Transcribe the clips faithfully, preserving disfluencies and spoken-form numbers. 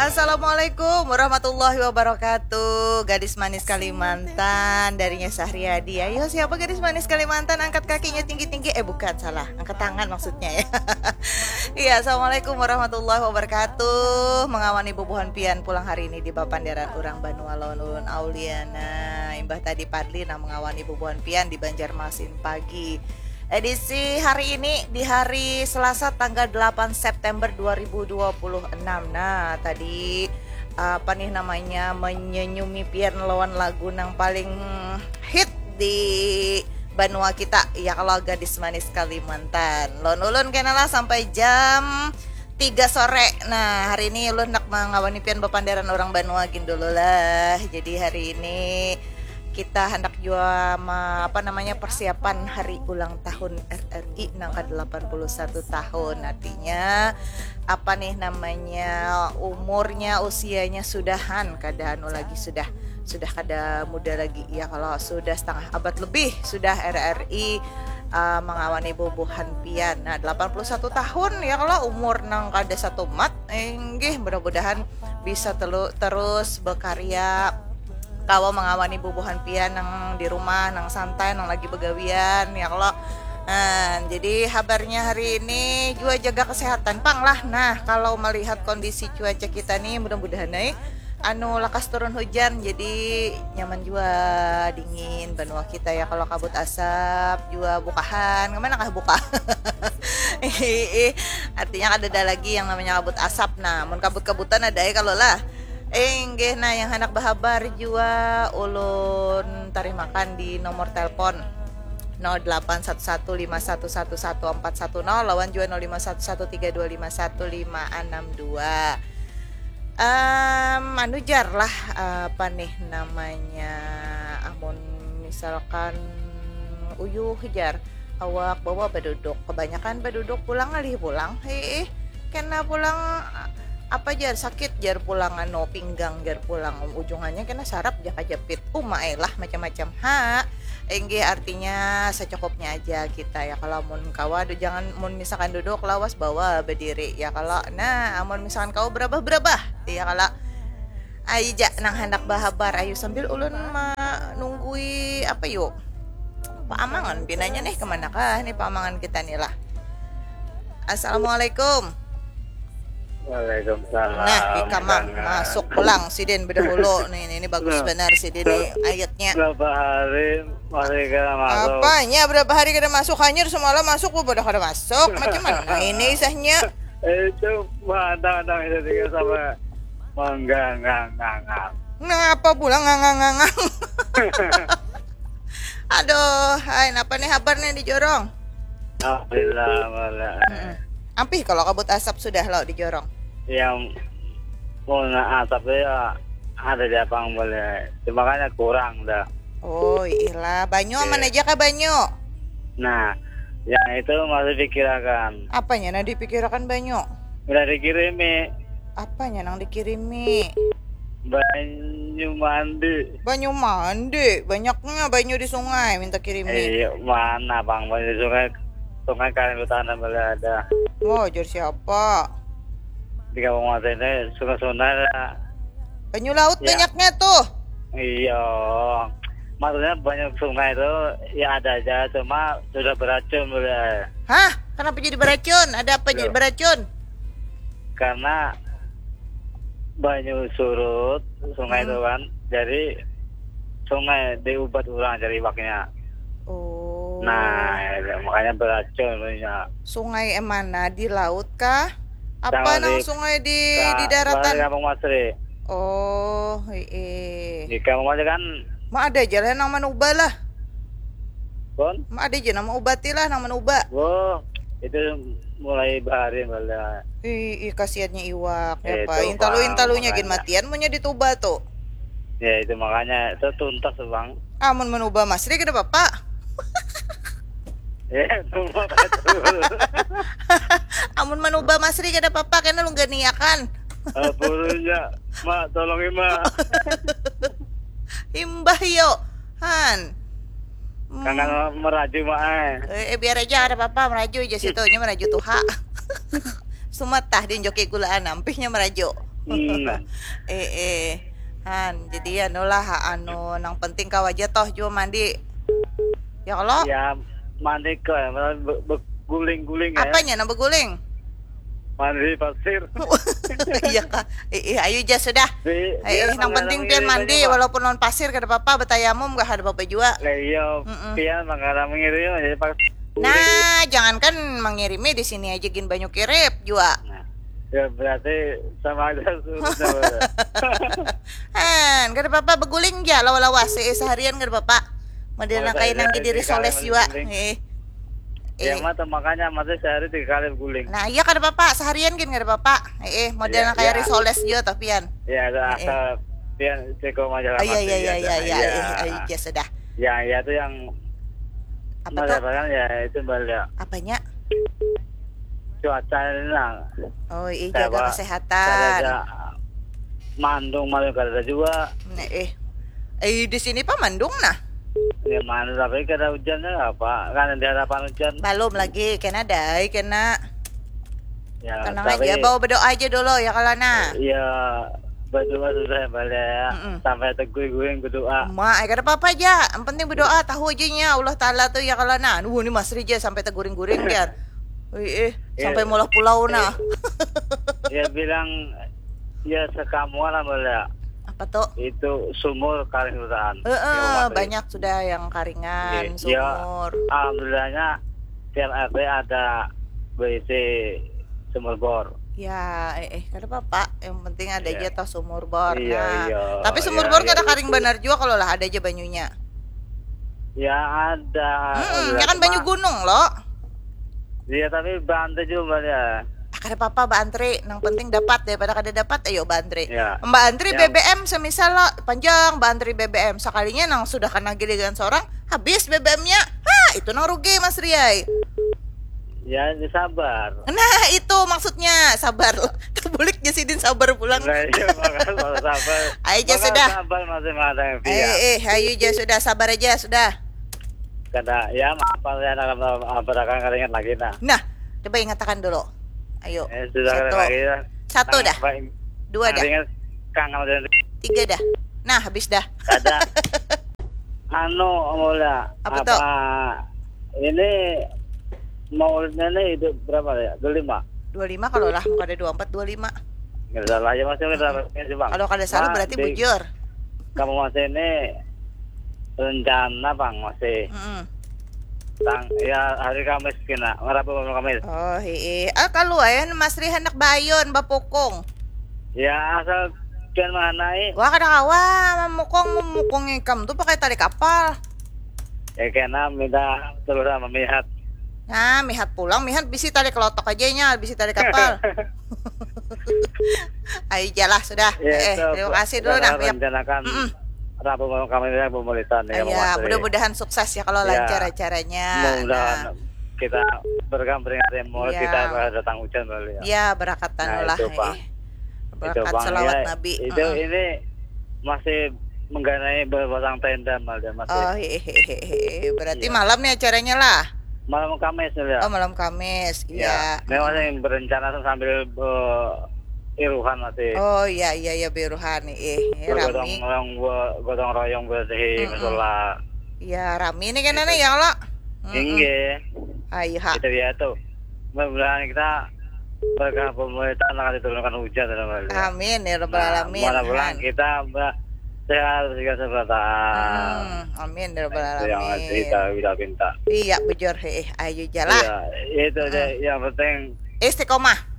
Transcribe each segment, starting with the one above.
Assalamualaikum warahmatullahi wabarakatuh. Gadis manis Kalimantan, darinya Sahriadi. Ayo, siapa gadis manis Kalimantan, angkat kakinya tinggi-tinggi. Eh, bukan, salah. Angkat tangan maksudnya ya. Iya, assalamualaikum warahmatullahi wabarakatuh. Mangawani bubuhan pian pulang hari ini di bapanderan urang banua lawan ulun Auliana. Imbah tadi Padli nang mangawani bubuhan pian di Banjarmasin Pagi. Edisi hari ini di hari Selasa tanggal delapan September dua ribu dua puluh enam. Nah, tadi apa nih namanya, menyenyumi pian lawan lagu nang paling hit di banua kita, ya kalau, gadis manis Kalimantan. Lawan ulun kena lah sampai jam tiga sore. Nah, hari ini ulun nak mangawani pian bapanderan urang banua gin dulu lah. Jadi hari ini kita handak jua ma, apa namanya, persiapan hari ulang tahun R R I nang ke delapan puluh satu tahun. Artinya apa nih namanya, umurnya, usianya sudahan, kada anu lagi, sudah sudah kada muda lagi ya, kalau sudah setengah abad lebih sudah R R I uh, mangawani bubuhan pian. Nah, delapan puluh satu tahun ya kalau, umur nang kada satumat. Inggih, mudah-mudahan bisa telu, terus berkarya, kawa mangawani bubuhan pian nang di rumah, nang santai, nang lagi begawian ya kalau. Nah, jadi habarnya hari ini jua jaga kesehatan pang lah. Nah, kalau melihat kondisi cuaca kita nih, mudah-mudahan eh anu lakas turun hujan, jadi nyaman jua, dingin banua kita ya kalau, kabut asap jua bukahan. Kemana kah buka? Ih, artinya kada ada lagi yang namanya kabut asap. Nah, mun kabut-kabutan ada ya kalau lah. Inggih, nah, yang handak bahabar jua ulun tarimakan di nomor telepon nol delapan satu satu lima satu satu satu empat satu nol lawan jua nol lima satu satu tiga dua lima satu lima enam dua. Um, anu jar lah, apa nih namanya, amun misalkan uyuh jar, awak bawa baduduk, kebanyakan baduduk pulang ngalih pulang, hiih, kena pulang apa jar, sakit jar pulang, anu, pinggang jar pulang, ujungannya kena sarap jaka japit, uma eh lah, macam-macam ha. Inggih, artinya secukupnya aja kita ya kalau, mun kawa, jangan, mun misalkan duduk lawas bawa badiri ya kalau. Nah, amun misalkan kawa berabah-berabah ya kalau, ayu ja nang handak bahabar, ayu sambil ulun menunggui apa yuk, paamangan pinanya nih, kemana kah nih paamangan kita nih lah. Assalamualaikum. Waalaikumsalam. Nah, ikam mang masuk pulang sidin bedahulu nih, ini, ini bagus benar sidin nih ayatnya. Berapa hari masih kada masuk? Apanya berapa hari kada masuk? Hanyar semalam masuk, bodoh kada masuk. Macam mana ini isahnya? Itu hadang-hadang itu tiga sama manggang-nganggang. Napa pulang ngangang-ngangang? Aduh, hai, napa nih habar nih di jorong? Alhamdulillah, malah. Ampih kalau kabut asap sudah lo di jorong. Yang mau asap ya ada di apang boleh. Cuma kan kurang dah. Oh, ilah. Banyu aman aja kah banyu? Nah, yang itu masih pikirakan. Apanya nah dipikirakan banyu? Udah dikirimi. Apanya nang dikirimi? Banyu mandi. Banyu mandi, banyaknya banyu di sungai minta kirimi. Iya, mana bang banyu di sungai? Sungai kalian utara boleh ada. Oh, jor siapa? Di kampung mata ini sungai-sungai ada. Banyu laut ya. Banyaknya tuh. Iya. Maksudnya banyak sungai itu ya ada aja, cuma sudah beracun boleh. Hah? Kenapa jadi beracun? Ada apa jadi beracun? Karena banyu surut sungai hmm. itu kan, jadi sungai diubat orang cari iwaknya. Oh. Nah, ya, makanya beracun punya. Sungai yang mana? Di laut kah? Apa nang di, sungai di ka, di daratan? Di Kampung Masri. Oh, iya. Di Kampung Masri kan. Ma ada jalan nang manuba lah. Bon? Ma ada aja nama ubati lah nang manuba. Oh, itu mulai bahari malah. Ih, ih kasihannya iwak ya, eh, Pak. Intalu-intalunya gin matian munnya dituba tuh. Ya, itu makanya itu tuntas, Bang. Amun manuba Masri kada apa-apa. Ya, tuba Amun manuba Masri kada apa-apa, kena lungganiakan. Apurunya, Mak, tolongi, Mak. Imbah yo. Han. Kangen meraju, Mak, eh. Eh, eh, biar aja, ada apa-apa, meraju aja situ, nya meraju tuha. Sumatah di joki gulaan, ampihnya meraju. Hmm. Eh, eh. Han, jadi anulah, anu, nang penting kawa aja toh jua mandi. Ya kalau? Ya, mandi ke, be- beguling-guling ya. Apanya nang beguling? Mandi pasir. Iya kah? Eh, eh, ayo ja sudah. Di- Eh, biar eh, nang penting menghalangi pian dirinya, mandi Pak. Walaupun lawan pasir kada apa-apa, betayamum gak ada apa-apa jua. Lah iya, Mm-mm. pian manggaram ngirinya jadi pas. Nah, jangankan mangirimi, di sini aja gin banyu kirip jua. Nah, ya berarti sama aja surutnya. Han, kada apa-apa, beguling ja lawa-lawa se seharian kada apa-apa. Model Oh, nang kayak saya- nang saya- diri saya soles kalian jua. beguling. Eh. Ya Eh. Mata makanya mata sehari tiga kali beguling. Nah, iya kada apa-apa, seharian gin kada apa-apa. Eh, eh, model Iya, nang kayak iya. risoles jua tapi an. Ya ada Eh, eh. asal pian ceko aja lah Ah, iya, mati, iya, iya, ya, iya, dah. iya, Ya. eh, ayo ja sudah. Ya, ya itu yang Apa Mas tuh? Apa kan ya itu balik Apanya? cuaca ini lah. Oh, iya, Saya jaga bawa- kesehatan. Ada mandung malam kada ada juga. Nah, eh. Eh, di sini pa mandung nah. Ya mana tapi kada hujannya apa? Kan di harapan hujan. Belum lagi, kena dai, kena. Ya, Tenang tapi- aja, bawa berdoa aja dulu ya kalau nah. Iya, berdoa sudah balik ya. Mm-mm. Sampai teguh-guing berdoa. Ma, eh, kada apa-apa aja. Yang penting berdoa, tahu aja nya Allah Taala tuh ya kalau nah. Wah, ini Mas Rija sampai teguring-guring jar. Wih, eh, sampai Iya. Mulah Pulau nah. Ya bilang ya sekamuan lah balik. Apa tuh? Itu sumur karing hutan. Heeh, Iya, Mas. Banyak sudah yang karingan, Iya, iya. Sumur. Alhamdulillahnya tiap R T ada berisi sumur bor. Ya, eh, eh, kada apa-apa. Yang penting ada Iya. Aja toh sumur bor. Iya, Nah, iya, tapi sumur iya, bor iya. Kada karing benar juga kalau lah ada aja banyunya. Ya ada. Hmm, Ada ya kan banyu cuma- gunung lo. Iya tapi bantu juga ya. Ah, kada apa-apa, baantri. Nang penting dapat, daripada kada dapat, ayo baantri. Ya. Baantri Ya. B B M semisal lo panjang baantri B B M, sekalinya nang sudah kena giliran seorang habis B B M-nya. Ha, itu nang rugi Mas Riai. Ya ini sabar. Nah, itu maksudnya sabar. Terbulik ja sidin sabar pulang. Nah, iya, makanya kalau sabar. Ayo, ja Makanya sudah. Sabar masih ada yang Eh, pihak. Eh, ayo ja sudah, sabar aja sudah. Kada ya apa ya anak apa akan kada ingat lagi nah. Nah, coba ingatakan dulu. Ayo. Eh, sudah Satu. Lagi ya. Satu Nah, dah. apa ini? Dua Nah, dah. Ingat kangen dan Tiga dah. Nah, habis dah. ada. Anu, Mola. Apa tuh? Ini maulidnya nih itu berapa ya? Dua lima. Dua lima kalau lah, kada dua empat, dua lima. Nggak salah ya masih kita sih bang. Kalau kada salah Nah, berarti di- bujur. Kamu masih ini rencana bang masih Mm-mm. tang ya hari Kamis kena Rabu malam Kamis. Oh, hii. Ah, kalau ayan Mas Ri hendak bayun bapukung. Ya asal pian manai. Wah, kada kawa mamukung, mamukung ikam tuh pakai tali kapal. Ya kena minta terus sama mihat. Nah, mihat pulang, mihat bisi tali kelotok aja nya, bisi tali kapal. Ayo jalah sudah. Ya, Eh, itu terima apa- kasih dulu kita nah. Mihat. Rencanakan Mm-mm. Rabu malam Kamis ya pemuritan ya. Iya, mudah-mudahan sukses ya kalau Ya. lancar acaranya. Mudah-mudahan Nah, kita berkam peringatan mau Iya. kita datang hujan kali ya. Ya, berakat Nah, anu lah. Itu, Pak. Eh. Itu, Berakat Bang. selawat Ya, Nabi. Itu Mm-mm. ini masih mengganai berpasang tenda malah masih. Oh, hehehe. Berarti Iya. Malam nih acaranya lah. Malam Kamis ya. Oh, malam Kamis. Ya, Iya. memang yang berencana sambil eh, iruhan masih. Oh, iya, iya, iya, biruhan nih. Eh, ini Gotong rami. royong gotong royong berarti Mm-mm. musola. Iya, rami nih kena nih ya kalau. Mm-mm. Inggih. Ayo ha. Itu ya tuh. Mudah-mudahan kita berkah pemerintah akan diturunkan hujan dalam hal ini. Amin ya rabbal Nah, alamin. Mudah-mudahan Han. Kita ber- sehat segala kesempatan. Hmm, amin ya rabbal Itu yang alamin. kita bila minta. Iya, bujur, heeh. Ayo jalah. Iya, itu aja Hmm. yang penting Istiqomah.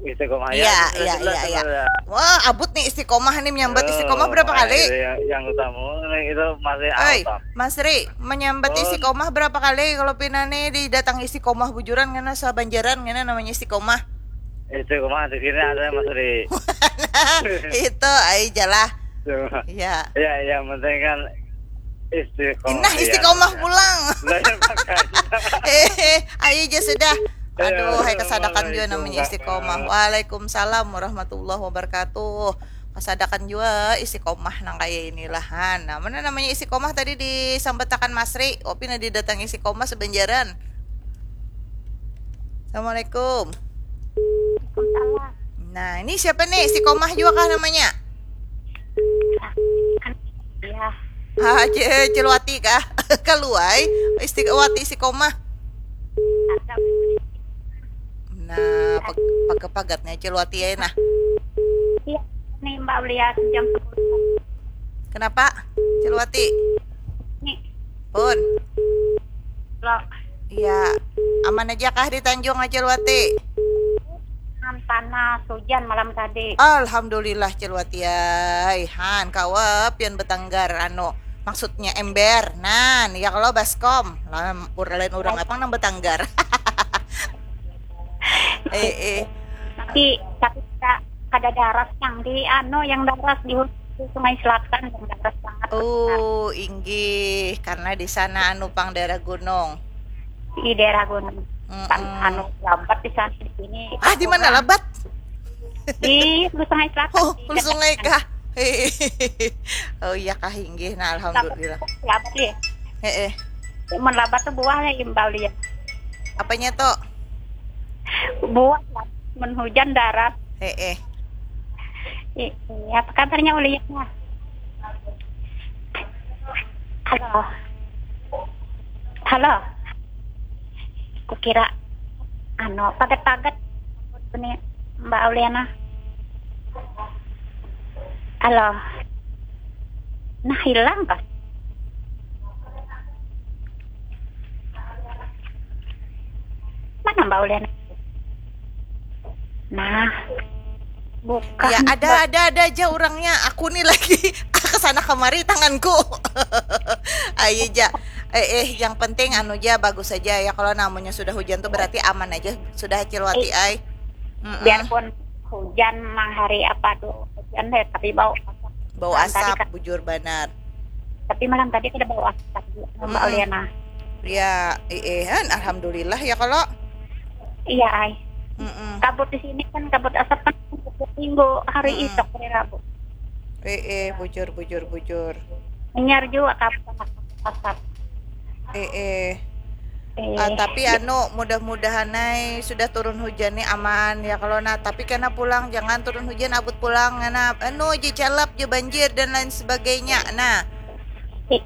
istiqomah Iya, ya. iya, Jelas iya, iya. sebenarnya. Wah, abut nih istiqomah nih menyambat Oh, istiqomah berapa nah, kali? Itu yang, yang utama itu masih Oi, awal. Mas Ri, menyambat Oh. Istiqomah berapa kali kalau pina nih didatangi Istiqomah bujuran ngena sabanjaran ngena namanya Istiqomah. Istiqomah di sini ada Mas Ri. Itu, ayo jalah. Cuma, Iya. Ya, yang penting kan istiqomah. Nah, Ya, Istiqomah ya. Pulang. Nah, ya, makanya. Eh, ayo aja sudah. Ya, Aduh, hai kesadakan juga assalamualaikum, namanya Kak. Istiqomah. Waalaikumsalam warahmatullahi wabarakatuh. Kesadakan juga Istiqomah nang kayak inilah. Han. Nah, mana namanya Istiqomah tadi disambatakan Mas Ri. Opi nah didatangi Istiqomah sebenjaran. Assalamualaikum. Waalaikumsalam. Nah, ini siapa nih? Istiqomah juga kah namanya? Ya. Ah, Ce- Celwati kah? Kaluai, Istiqomah, Istiqomah. Ada. Nah, pag- pagat-pagatnya Celwati ya nah. Iya. Nih Mbak Ulia jam sepuluh. Kenapa? Celwati. Nih. Pun. Lo. Iya. Aman aja kah di Tanjung Celwati? Kan panas hujan malam tadi. Alhamdulillah Celwati ai. Han kawa pian betanggar anu maksudnya ember. Nan ya kalau baskom. Lain urang apa nang betanggar. eh eh. Tapi tapi kada kada daras yang di anu yang daras di, di Sungai Selatan yang daras banget. Oh, inggih karena di sana anu pang daerah gunung. Di daerah gunung. Kan Mm-mm. Anu labat di sana di sini. Ah, di mana labat? Di Hulu Sungai Selatan. Oh, Di Hulu Sungai kah? Oh iya kah inggih. Nah, alhamdulillah. Labat ya. Heeh. Mun labat tuh buahnya imbau lihat. Apanya tuh? Buah lah. Mun hujan daras. Heeh. I- Iya, apa kabarnya Ulia? Halo. Halo. Kukira anu pagat-pagat ini Mbak Uliana. Halo. Nah, hilang kah? Mana Mbak Uliana? Nah, bukan. Ya ada ada ada aja orangnya. Aku nih lagi kesana kemari tanganku. Ayo ja. Eh, eh, yang penting anu ja bagus aja ya kalau namanya sudah hujan tuh berarti aman aja sudah Cilwati ai. Mm-mm. Biarpun hujan mah hari apa tuh hujan deh, tapi bau asap. Bau Malam tadi asap kan- bujur banar. Tapi malam tadi kada bau asap juga, Mbak Mm-mm. Uliana. Ya, eh, eh, alhamdulillah ya kalau. Iya, ai. Mm-mm. Kabut di sini kan kabut asap kan dua minggu hari Mm-mm. Isok hari Rabu. Eh, eh, bujur bujur bujur. Hanyar juga kabut asap. Eh, eh. Eh, Ah, tapi anu mudah-mudahan ai sudah turun hujan nih aman ya kalau nah tapi kena pulang jangan turun hujan abut pulang ngana anu aja calap aja banjir dan lain sebagainya nah eh, eh,